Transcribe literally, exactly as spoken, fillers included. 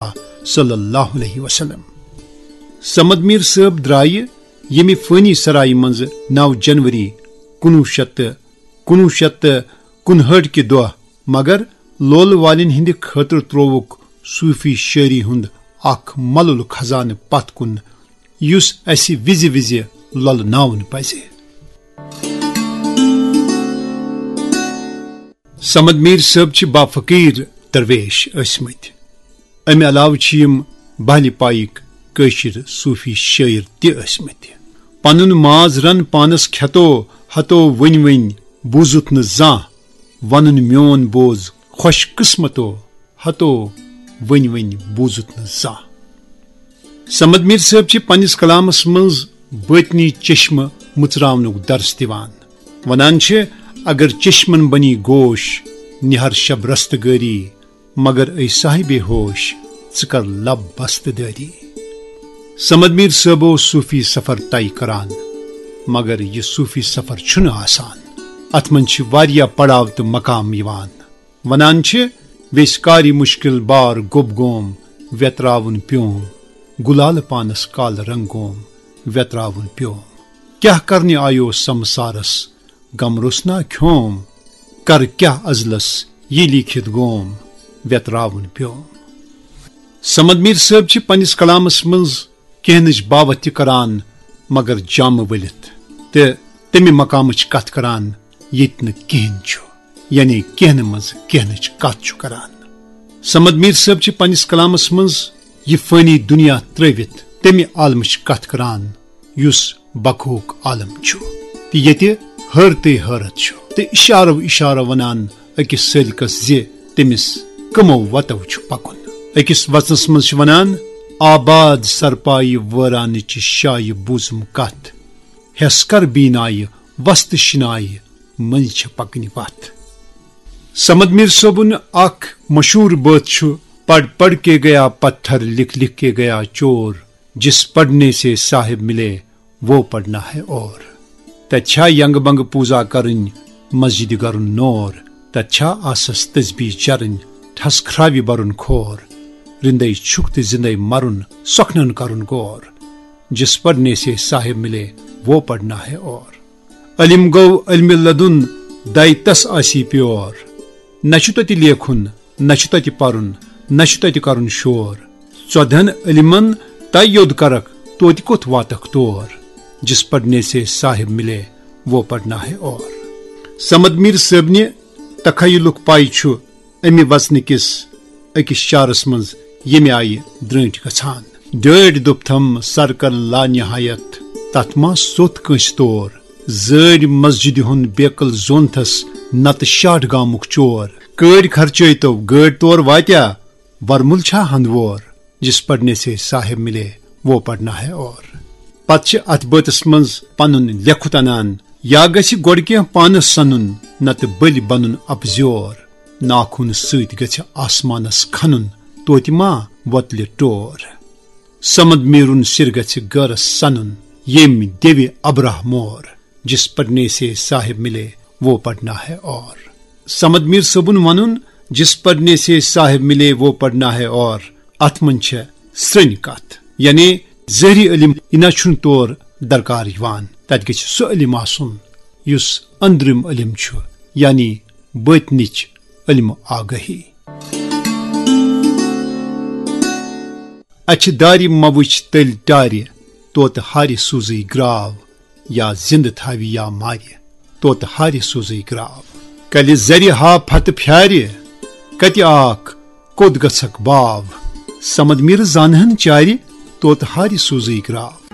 اللہ صلی اللہ علیہ وسلم۔ صمد میر صٲب درایہِ ییٚمہِ فٲنی سرایہِ منٛز نو جنوری کُنوُہ شیٚتھ تہٕ کُنوُہ شیٚتھ تہٕ کُنہٲٹھ کہِ دۄہ، مگر لولہٕ والٮ۪ن ہٕنٛدِ خٲطرٕ ترووُکھ صوٗفی شٲعری ہُنٛد اکھ ملُل خزانہٕ پتھ کُن، یُس اسہِ وِزِ وِزِ لۄلہٕ ناوُن پزِ۔ صمد میر صٲب چھِ با فقیر درویش ٲسمٕتۍ۔ امہِ علاوٕ چھِ یِم بہلہِ پایِکۍ کٲشِر صوٗفی شٲعر تہِ ٲسمٕتۍ۔ پنُن ماز رن پانس کھٮ۪تو ہتو، ؤنۍ ؤنۍ بوٗزُتھ نہٕ زانٛہہ، ونُن میون بوز خۄش قٕسمتو ہتو، ؤنۍ ؤنۍ بوٗزُتھ نہٕ زانٛہہ۔ صمد میر صٲب چھِ پننِس کلامس منٛز باطنی چشمہٕ مُژراونُک درس دِوان۔ ونان چھِ، اگر چشمن بنی گوش، نہر شب رستگٲری، مگر اے صاحب ہوش، ژٕ کر لب بست دٲری۔ صمد میر صٲب اوس صوٗفی سفر طے کران، مگر یہِ صوٗفی سفر چھُنہٕ آسان۔ اتھ منٛز چھِ واریاہ پڑاو تہٕ مقام یِوان۔ ونان چھِ، ویسۍ کاری مشکل بار گوٚب گوم، ویتراوُن پیوم، گُلال پانس کال رنگ گوم، ویتراوُن پیوم۔ کیاہ کرنہِ آیو سمسارس، غم روٚسنا کھیوم، کر کیاہ ازلس یہِ لیٖکھِتھ گوم، ویتراوُن پیوم۔ صمد میر صٲب چھِ پننِس کلامس منٛز کینٛہہ نٕچ باوتھ تہِ کران، مگر جامہٕ ؤلِتھ تہٕ تمہِ مقامٕچ کتھ کران، ییٚتہِ نہٕ کِہینۍ چھُ، یعنی کینٛہہ نہٕ منٛز کینٛہہ نٕچ کتھ چھُ کران۔ صمد میر صٲب چھِ پننِس کلامس منٛز یہِ فٲنی دُنیا ترٲوِتھ تمہِ عالمٕچ کتھ کران، یُس بقہُک عالم چھُ، تہٕ ییٚتہِ حٲرتٕے حٲرت چھُ، تہٕ اِشارو اِشارو ونان أکِس سٲلِکس زِ تٔمِس کٕمو وتو چھُ پکُن۔ أکِس وژنس منٛز چھِ ونان، آباد سرپایہِ وٲرانٕچہِ شایہِ بوٗزُم کتھ، ہٮ۪س کر بیٖنایہِ وستہٕ شِنایہِ، مٔنٛزۍ چھےٚ پکنہِ وتھ۔ صمد میر صٲبُن اکھ مشہوٗر بٲتھ چھُ، پڑھ پڑھ کے گیا پتھر، لکھ لکھ کے گیا چور، جس پڑھنے سے صاحب ملے، وہ پڑھنا ہے اور۔ تتہِ چھا ینگ بنگ پوٗزا کرٕنۍ، مسجدِ گرُن نور، تتہِ چھا آسس تسبیح چرٕنۍ، ٹھس کھراوِ برُن کھور، رندے چھُکھ تہٕ زندے مرُن، سۄکھنن کرُن غور۔ جس پڑھنے سے صاحب ملے، وہ پڑھنا ہے اور۔ علم گوٚو علمِ لدُن، دَے تس آسی پیور۔ نہ چھُ تتہِ لیکھُن، نہ چھُ تتہِ پرُن، نہ چھُ تتہِ کرُن شور۔ ژۄدہن علمن تَے یوٚد کرکھ، توتہِ کوٚت واتکھ تور؟ جس پڑھنے سے صاحب ملے، وہ پڑھنا ہے اور۔ صمد میر صٲبنہِ تخیلُک پاے چھُ امہِ وژنہٕ کِس أکِس شعرس منٛز ییٚمہِ آیہِ درٛٲنٛٹھۍ گژھان۔ ڈٲٹھۍ دوٚپتھم سرکل لا نہایت، تتھ ما سوٚت کٲنٛسہِ تور۔ زٲڑۍ مسجدِ ہُنٛد بیکل زونتھس، نتہٕ شاٹھ گامُک چور۔ کٲڑۍ خرچٲے تو گٲڑۍ تور واتیا، ورمُل چھا ہندوور؟ جس پڑھنے سے صاحب ملے، وہ پڑھنا ہے اور۔ پتہٕ چھِ اتھ بٲتس منٛز پنُن لیکھُت انان، یا گژھِ گۄڈٕ کینٛہہ پانس سنُن، نتہٕ بٔلۍ بنُن اپزیور۔ ناخُن سۭتۍ گژھِ آسمانس کھنُن، توتہِ ما وۄتلہِ ٹور۔ صمد میرُن سِر گژھِ غٲرس سنُن، ییٚمۍ دِوِ ابرہ مور۔ جس پڑھنے سے صاحب ملے، وہ پڑھنا ہے اور۔ صمد میر صٲبُن ونُن، جس پڑھنے سے صاحب ملے، وہ پڑھنا ہے اور، اتھ منٛز چھےٚ سرٛنۍ کتھ، یعنی ظٲہری علم یہِ نہ چھُنہٕ تور درکار یِوان، تتہِ گژھِ سُہ علم آسُن یُس أنٛدرِم علم چھُ، یعنی بٲطنٕچ علم آگاہی۔ اچھِ دارِ مہ وٕچھ تٔلۍ ٹارِ، توتہٕ ہارِ سوٗزٕے گراو، یا زِندٕ تھاوِ یا مارِ، توتہٕ ہارِ سوٗزٕے گراو۔ کلہِ زرِ ہا پھتہٕ پھیارِ، کتہِ آکھ، کوٚت گژھکھ باو؟ صمد میٖرٕ زانہن چارِ، توتہٕ ہارِ سوٗزٕے گراو۔